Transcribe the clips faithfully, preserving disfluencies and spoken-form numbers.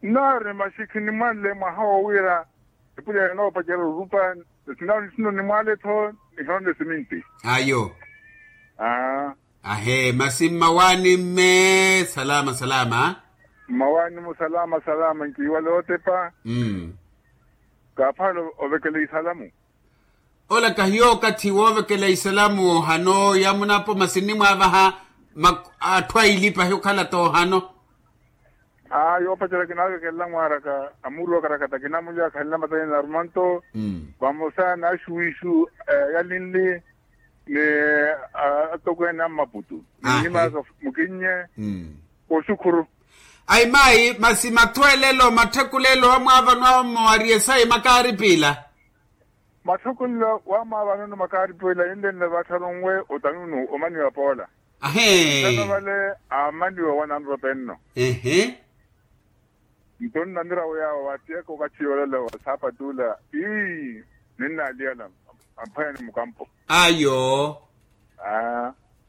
Nnaari maxi khinimwanle mwaha wo wira epulya yanoopacela orupa. Sinawo nitthuna onimwale-tho nihonle siminti. Ayo. Ahe masi mmawaani mme salama salama. Mmawaani mu salama salama nkiiwale ootepa. Kaaphaala ovekela isalamu. Ola kahiyo okathi woovekela isalamu ohano ya munapo masi nnimwaavaha atthu aili pahi okhala t'ohano. Aa yoopacerya kinaavekelela mwaaraka amuuluwa karakata kinamulya khanle matayeni na arumanto. Vamosa n'axuwixu yalinli ni atokweene a mmaputu ni nnimaka mukinnye. Kooxukhuru. Ayi maayi masi mathweelelo matthekulelo amwaavanwa mmo ari esayi makaaripila. Matthekulelo waamwaavanwa ni makaaripila yinle nle vattharu nwe otanunu omaniwa poola. Ahee. Ntano vale aamaniwa wananrope nno. Ehe. Nto nnamira wiyaawo waatiyaka okathi yoolela wa saapatu ola. Ii. Ninnaaliyala amphwanya ni mukampo. Ayo.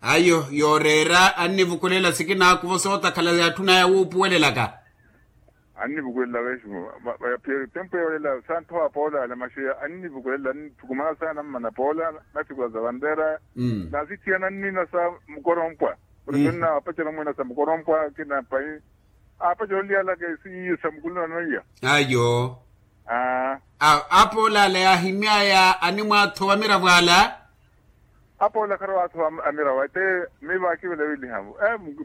Ayo yooreera annivukulela sikinaakuvo sootakhala yaatthunaya wuupuwelelaka. Annivukulela veximo. Tempu yoolela santhowa poolala maxi annivukulela nithukumana saana mmana poolala. Nathikula sa vanreera. Naasitthiyana nnina sa mukorompwa. Ori nnina apacela mwina sa mukorompwa kina pai. Apacela oliyalaka esiiyo sa mukuluna noiya. Ayo. Apoolala yaahimyaya animwaathowa miravo ala. Apoola kharowaatho amirawa ete. Miiva akivela wiliha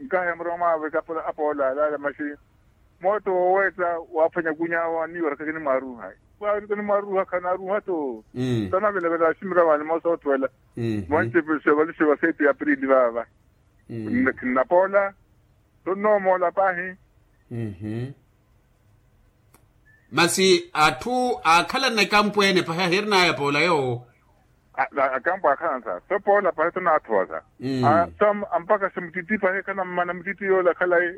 nkahi amuromwawe apoola alaala maxi. Mootto wooweetta waaphwanya kunyaawo anniiwaraka kinimwaaruuha. Waaruka nimwaaruuha khanaaruuha-tho. Tanavelavela aximirawaani moosa otthuwela. Mwancepe xevalixeva seeti ya aprili vaava. Khinnapoola. Tonnoomoola paahi. Masi atthu aakhalana ekampweene pahi ahirinaya poola yoowo. Akampo akhalana sa so poola pahi tonaathowa sa. Mpaka sa mutitti pahi khanammana mutitti yoola khalayi.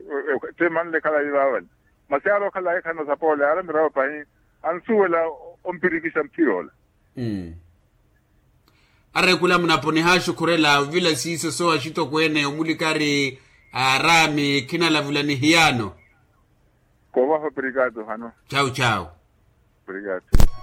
Tte manle khalayi vaavale. Masi aari okhalayi khana sa poola yaari amirawo pahi. Ansuwela ompirikixa mutthi yoola. Arekula munapo nihaaxukhurela ovila siiso soowa axitokweene omulikari. Aaraami khinalavula nihiyaano. Koovaha opirikaato hano. Cawu cawu. Opirikaato.